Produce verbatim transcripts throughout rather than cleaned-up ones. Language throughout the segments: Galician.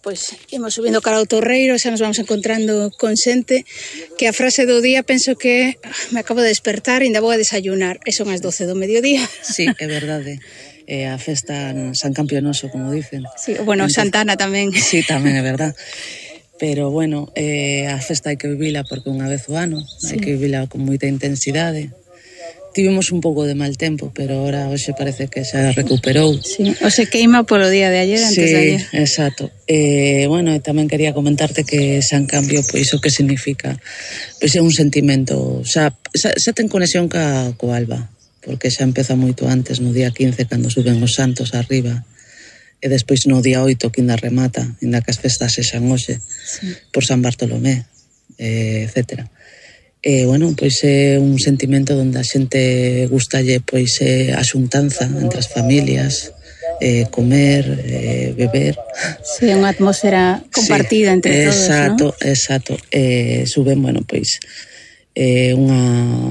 pois imos subindo cara ao Torreiro, xa nos vamos encontrando con xente, que a frase do día penso que me acabo de despertar e ainda vou a desayunar, e son as doce do mediodía. Sí, é verdade. É a festa San Campionoso, como dicen. Sí, bueno, entonces, Santana tamén. Sí, tamén é verdade. Pero, bueno, eh, a festa hai que vivila porque unha vez o ano, sí. Hai que vivila con moita intensidade. Tivemos un pouco de mal tempo, pero ahora hoxe parece que xa recuperou. Sí, o se queima polo día de ayer, antes sí, de ayer. Sí, exacto. Eh, bueno, tamén quería comentarte que San Cambio, pois o que significa, pois é un sentimento, xa, xa, xa ten conexión ca, co alba, porque xa empeza moito antes, no día quince, cando suben os santos arriba, e despois no día oito, que ainda remata, ainda que as festas sexan hoxe, sí. Por San Bartolomé, eh, etcétera. E, bueno, pois é un sentimento onde a xente gustalle pois é a xuntanza entre as familias, eh, comer, eh, beber. Sí, unha atmosfera compartida sí, entre todos, exacto, ¿no? Exacto, eh, suben, bueno, pois é eh, unha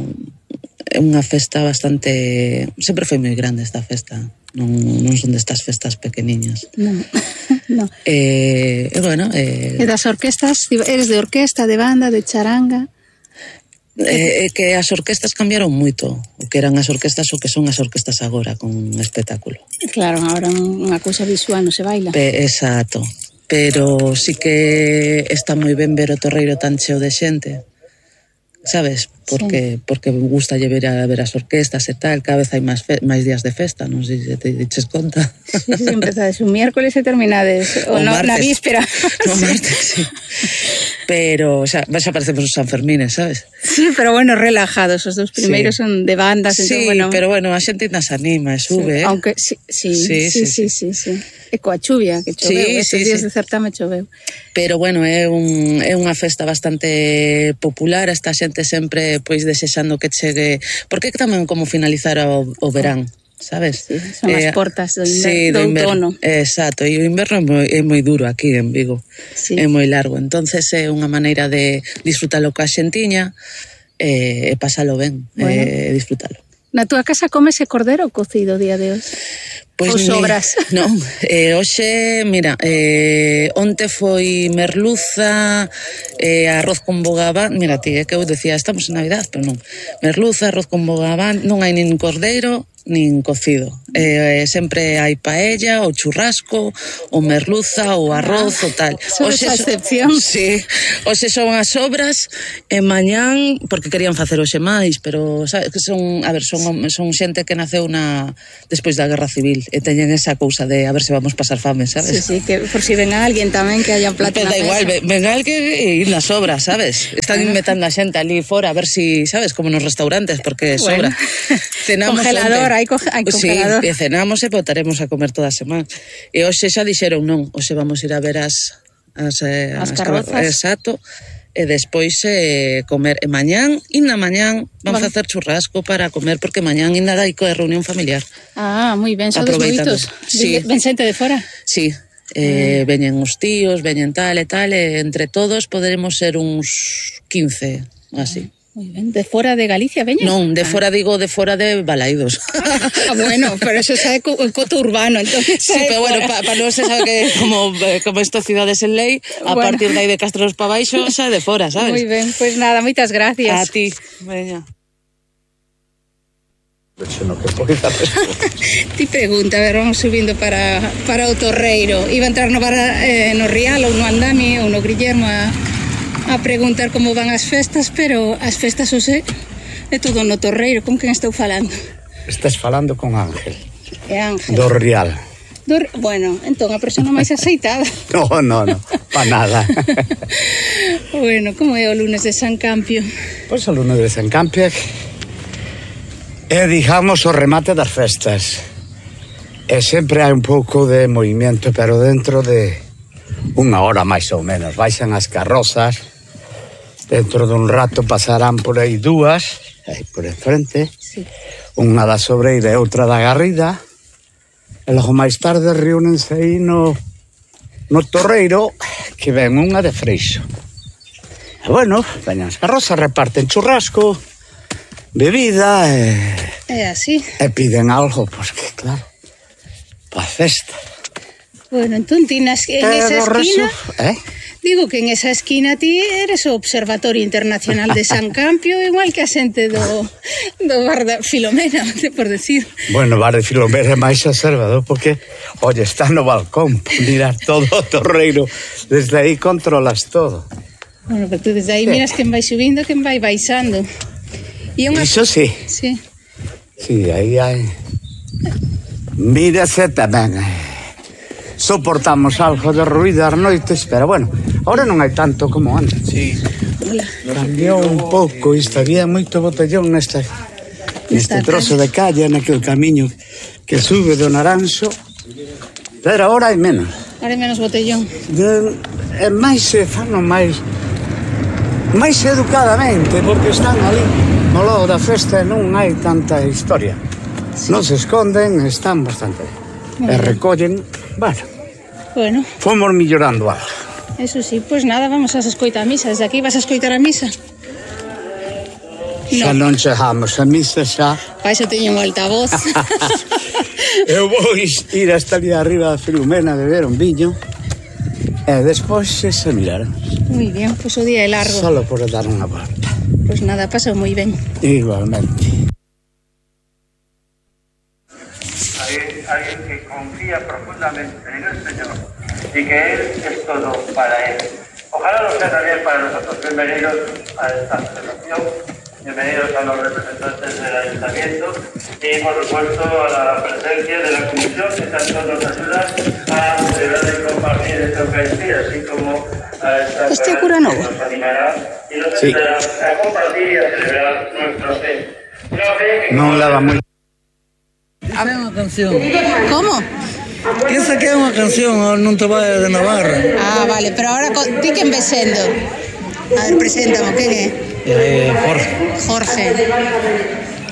unha festa bastante, sempre foi moi grande esta festa, non, non son destas festas pequeniñas. Non, non. Eh, e, bueno... Eh, e das orquestas, eres de orquesta, de banda, de charanga... É eh, que as orquestas cambiaron moito, o que eran as orquestas o que son as orquestas agora, con un espectáculo. Claro, agora unha cousa visual non se baila. Pe, exacto, pero sí que está moi ben ver o Torreiro tan cheo de xente, sabes? Porque sí. Porque gusta ver a ver as orquestas e tal, cada vez hai máis fe, máis días de festa, non sei se te diches conta. Sí, sí, empezades un miércoles e terminades o, o no, na víspera. No sí. Martes, sí. Pero, o sea, xa parecemos os Sanfermines, sabes? Sí, pero bueno, relajados, os dos primeiros sí. Son de bandas. Sí, entón, bueno... pero bueno, a xente nas anima e sube, sí, eh? Aunque, sí, sí, sí, sí, sí, sí, sí, sí. E coa chuvia, que choveu, sí, estes sí, días sí. De certame choveu. Pero bueno, é, un, é unha festa bastante popular, esta xente sempre pois desexando que chegue, porque tamén como finalizar o, o verán, sabes? Sí, son as eh, portas do, sí, do outono. Exacto, e o inverno é moi, é moi duro aquí en Vigo, sí. É moi largo, entonces é unha maneira de disfrutalo ca xentiña e, e pasalo ben, bueno. E disfrutalo. Na túa casa comese cordero cocido o día de hoxe? Pois ou sobras? Mi, non, eh, hoxe, mira, eh, onte foi merluza, eh, arroz con bogaván, mira ti, é que eu decía, estamos en Navidad, pero non, merluza, arroz con bogaván, non hai nin cordeiro, nin cocido. Eh, sempre hai paella, o churrasco, o merluza, o arroz, ah, o tal. Son esa excepción. Sí, hoxe son as sobras, e mañán, porque querían facer hoxe máis, pero sabes, que son, a ver, son, son xente que naceu na despois da Guerra Civil, e teñen esa cousa de a ver se vamos pasar fame, sabes? Sí, sí, que por si ven a alguén tamén que haya plato na mesa. Da igual, ven, ven a alguén e ir nas sobras, sabes? Están inventando a xente ali fora, a ver si, sabes, como nos restaurantes, porque sobra. Bueno. Cenamos congelador, hai, co hai congelador. Sí, e cenamos e botaremos a comer toda a semana. E hoxe xa dixeron non, hoxe vamos ir a ver as as, eh, as, as carrozas. Exacto. E despois eh, comer. E mañán, e na mañán, vamos bueno. a facer churrasco para comer, porque mañán ainda hai coa reunión familiar. Ah, moi ben, sodes moitos. Sí. Ven xente de fora? Sí, eh, mm. veñen os tíos, veñen tal e tal, e entre todos poderemos ser uns quince, así. Moi ben, de fora de Galicia veñen? Non, de fora, ah. digo, de fora de Balaidos. Ah, bueno, pero eso xa é co, coto urbano, entonces. Sí, pero bueno, para pa non se sabe que como, como esto ciudades en lei, a bueno. partir de aí de Castros pa baixo, xa de fora, sabes? Moi ben, pois pues nada, moitas gracias. A ti, veña. Ti pregunta, a ver, vamos subindo para, para o Torreiro. Iba a entrar no, bar, eh, no Rial ou no Andami ou no Guillermo a... a preguntar como van as festas, pero as festas hoxe é todo no Torreiro. Con quen estou falando? Estás falando con Ángel. É Ángel. Do Rial. Do, bueno, entón a persona máis aceitada. No, no, no, pa nada. Bueno, como é o lunes de San Campio? Pois o lunes de San Campio é, digamos, o remate das festas. E sempre hai un pouco de movimento, pero dentro de unha hora máis ou menos. Baixan as carrozas. Dentro dun rato pasarán por aí dúas, aí por enfrente, sí. Unha da Sobreira e outra da Garrida, e logo máis tarde reúnense aí no, no Torreiro, que ven unha de Freixo. E bueno, veñan as carrozas, reparten churrasco, bebida, e... É así. E piden algo, porque claro, pa festa. Bueno, entón ti nas, en Eh, esa do esquina... resto, eh? Digo que en esa esquina ti eres o Observatorio Internacional de San Campio, igual que a xente do, do bar da Filomena, por decir. Bueno, o bar de Filomena é máis observador porque, oye, está no balcón, mirar todo o torreiro, desde aí controlas todo. Bueno, pero tú desde aí miras quen vai subindo, quen vai baixando. E unha... Iso sí. Sí. Sí, aí hai... Mírase tamén. Soportamos algo de ruido ás noites, pero bueno, ahora non hai tanto como antes. Sí. Cambiou un pouco isto, había moito botellón nesta, neste trozo de calle, naquele camiño que sube do Naranxo, pero ahora hai menos. Ahora hai menos botellón. De, é máis se fano máis máis educadamente, porque están ali no logo da festa e non hai tanta historia. Sí. Non se esconden, están bastante ben. E recollen, bueno, bueno, fomos millorando algo. Eso sí, pois pues nada, vamos a escoitar a misa. Desde aquí vas a escoitar a misa? Xa non chegamos a misa xa. Vai, xa teño un altavoz. Eu vou ir hasta ali arriba da Filomena a beber un viño e despois se miraremos. Moi bien, pois pues o día é largo. Solo por dar unha volta. Pois pues nada, pasa moi ben. Igualmente. Alguien que confía profundamente en el Señor y que Él es todo para Él. Ojalá lo sea también para nosotros. Bienvenidos a esta celebración, bienvenidos a los representantes del Ayuntamiento y por supuesto a la presencia de la Comisión que tanto nos ayuda a celebrar y compartir esta Eucaristía, así como a esta Este cura novo. que nos animará y nos Sí. ayudará a compartir y a celebrar nuestra fe. Una fe que Non leva moi... Esa é unha canción. Como? Esa que é unha canción, non te vai de Navarra. Ah, vale, pero ahora co- ti quen ves sendo? A ver, preséntamo, quen é? Eh, Jorge. Jorge.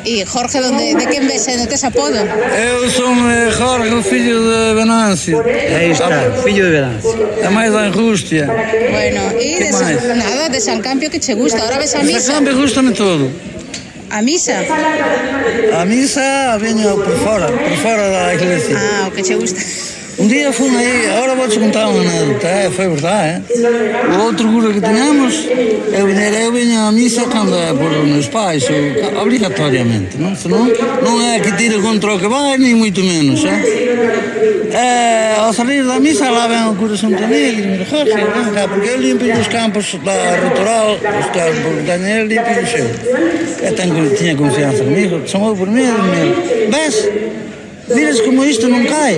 E Jorge, donde, de quen ves sendo? Tes apodo? Eu son eh, Jorge, o fillo de Venancio. Aí está, fillo de Venancio. É máis da Angustia. Bueno, e Que de San, máis? nada, de San Campio que che gusta. Ahora ves a Esa misa? cambio gustame todo. A misa? A misa veño por fora, por fora da iglesia. Ah, o que che gusta. Un día fun aí, agora vou te contar unha anécdota, eh? Foi verdade, eh? O outro cura que teníamos, eu viñera, eu viña a misa cando é por os meus pais, ou, obrigatoriamente, non? Senón, non é que tire contra o que vai, ni moito menos, eh? E ao salir da misa, lá ven o cura Santo Miguel, e me dixo, Jorge, ven cá, porque eu limpio os campos da Rutoral, os campos da Daniel, limpio o seu. E tenho, tiña confianza comigo, chamou por mí, e me ves? Miras como isto non cae.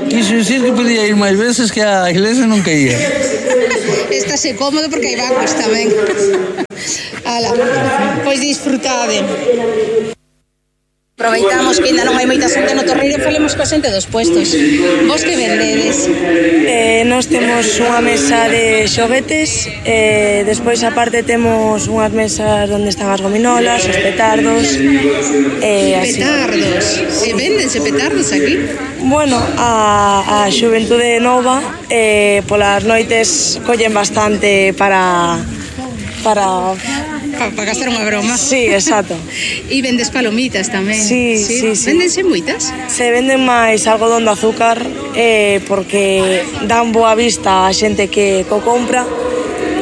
Quixo dicir que podía ir máis veces que a iglesia non caía. Estase cómodo porque hai bancos tamén. Ala, pois disfrutade. Aproveitamos que ainda non hai moita xente no torreiro e falemos coa xente dos puestos. Vos que vendedes? Eh, nós temos unha mesa de xoguetes, eh, despois aparte temos unhas mesas onde están as gominolas, os petardos, eh, así. Petardos. E vendense petardos aquí? Bueno, a, a xuventude nova eh, polas noites collen bastante para... para... Para pa gastar unha broma. Sí, exacto. E vendes palomitas tamén. Sí, sí, sí. Vendense moitas? Se venden máis algodón de azúcar eh, porque dan boa vista a xente que co compra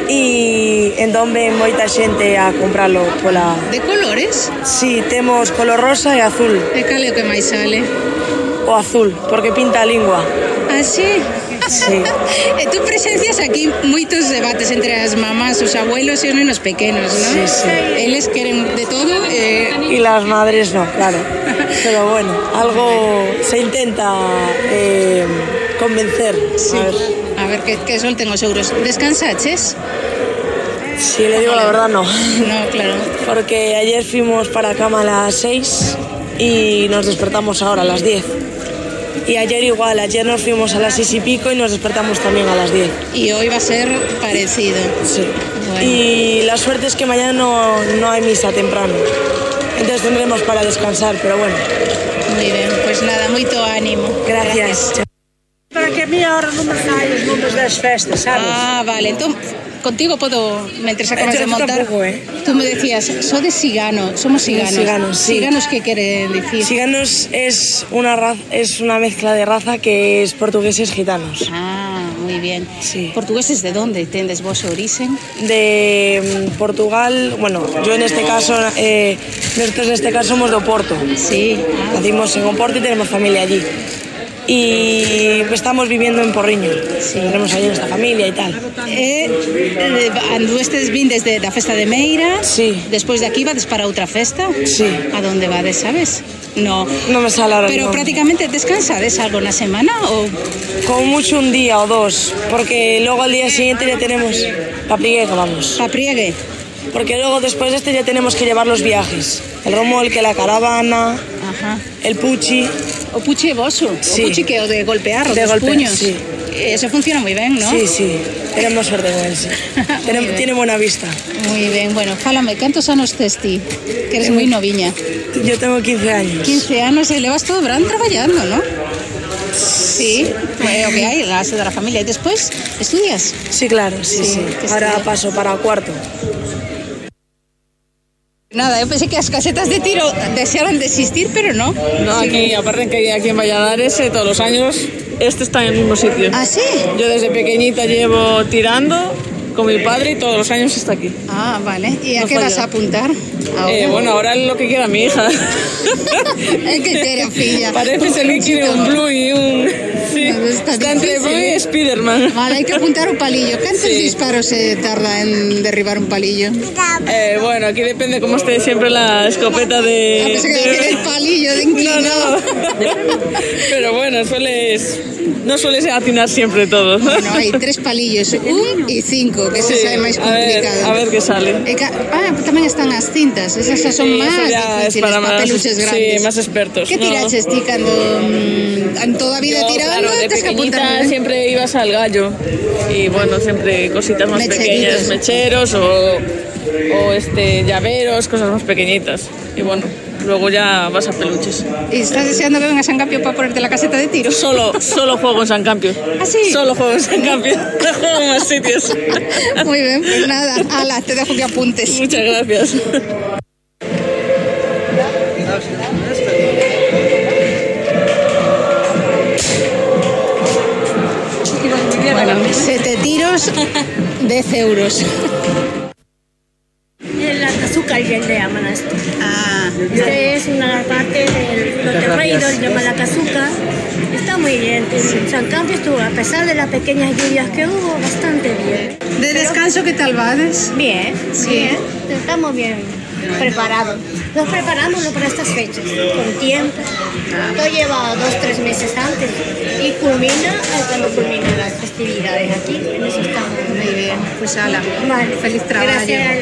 e entón ven moita xente a compralo pola... De colores? Sí, temos color rosa e azul. E cal é o que máis sale? O azul, porque pinta a lingua. Ah, sí? Sí. E tú presencias aquí moitos debates entre as mamás, os abuelos e os nenos pequenos, non? Sí, sí. Eles queren de todo eh... Y las madres no, claro. Pero bueno, algo se intenta eh, convencer. Sí. A ver. A ver, que, que solten os euros. Descansaches? Si le digo la verdad, no. No, claro. Porque ayer fuimos para cama a las seis y nos despertamos ahora a las diez. Y ayer igual, ayer nos fuimos a las seis y pico y nos despertamos también a las diez. Y hoy va a ser parecido. Sí. Bueno. Y la suerte es que mañana no, no hay misa temprano. Entonces tendremos para descansar, pero bueno. Muy bien, pues nada, moito ánimo. Gracias. Para que a mí ahora non me saen os nomes das festas, sabes? Ah, vale, entón contigo puedo, mientras acabas Yo de montar, tampoco, ¿eh? tú me decías, soy de Sigano, somos ciganos. Ciganos, sí. ¿Ciganos qué quiere decir? Ciganos es una raza, es una mezcla de raza que es portugueses gitanos. Ah, muy bien. Sí. ¿Portugueses de dónde tendes vos origen? De mm, Portugal, bueno, yo en este caso, eh, nosotros en este caso somos de Oporto. Sí. Nacimos en Oporto y tenemos familia allí. Y estamos viviendo en Porriño. Sí. Tenemos allí nuestra familia y tal. Eh, eh, anduestes vin desde la festa de Meira. Sí. Después de aquí vades para otra festa. Sí. ¿A dónde vades, sabes? No. No me sale ahora el Pero nombre. prácticamente descansades algo una semana o Como mucho un día o dos, porque luego al día siguiente ya tenemos papriegue, vamos. papriegue. Porque luego después de este ya tenemos que llevar los viajes. El romolque, la caravana, Ajá. el puchi. O puchi boso. Sí. O puchi que o de golpear o De dos golpear, puños. sí. Eso funciona muy bien, ¿no? Sí, sí, tenemos suerte con él, sí. Tiene, bien. tiene buena vista. Muy bien, bueno, fálame, ¿cantos anos tes ti? Que eres muy noviña. Yo tengo quince años. quince anos e levas todo o verán traballando, ¿no? Sí, é o que hai, a base da familia. E despois, estudias? Sí, claro, sí, Sí, sí. que Ahora estudia. paso para cuarto. Nada, eu pensei que as casetas de tiro desearan de existir, pero no. No, aquí, aparte que aquí en Valladares, eh, todos los años, este está en el mismo sitio. ¿Ah, sí? Yo desde pequeñita llevo tirando con mi padre y todos los años está aquí. Ah, vale. ¿Y a No qué falla. vas a apuntar? Ahora. Eh, bueno, ahora es lo que quiera mi hija. É que tere, filla. Parece ser que quiere un Blue y un... Sí, No, está está entre difícil, Blue y ¿eh? Spiderman. Vale, hai que apuntar o palillo. Cantos Sí. disparos se tarda en derribar un palillo? Eh, bueno, aquí depende cómo esté siempre la escopeta de... Ah, pensé que de- decir el palillo de No, inclinado. no. Pero bueno, sueles... No sueles atinar siempre todo. Bueno, hai tres palillos, un e cinco, que Sí, ese é máis a ver, complicado. a ver qué sale. E ca- ah, tamén están as cintas, esas xa son Sí, máis eso ya es difíciles, para más- papeluches sí, grandes. más expertos, Que no. tiraches ti cando mm, en toda a vida Yo, tirando? claro, de tes que apuntar pequeñita ben. siempre ibas al gallo y bueno, siempre cositas más Mecheritos. pequeñas, mecheros o, o este llaveros, cosas más pequeñitas y bueno, luego ya vas a peluches. E estás deseando que venga San Campio para ponerte la caseta de tiro? Solo, solo juego en San Campio. ¿Ah, sí? Solo juego en San Campio. No juego en más sitios. Muy bien, pues nada, ala, te dejo que apuntes. Muchas gracias. Bueno, sete tiros, diez euros. El azúcar ya le llaman a esto. Ah, Este es una parte del Torreiro, le llaman la cazuca. Está muy bien. En San Campio estuvo, a pesar de las pequeñas lluvias que hubo, bastante bien. de descanso, ¿qué tal vades? Bien, Sí. bien. Estamos bien preparados. Nos preparamos para estas fechas, con tiempo. Todo lleva dos, tres meses antes y culmina eh, cuando culminan las festividades aquí. En eso estamos. Muy bien, pues ala, Vale. feliz trabajo. Gracias.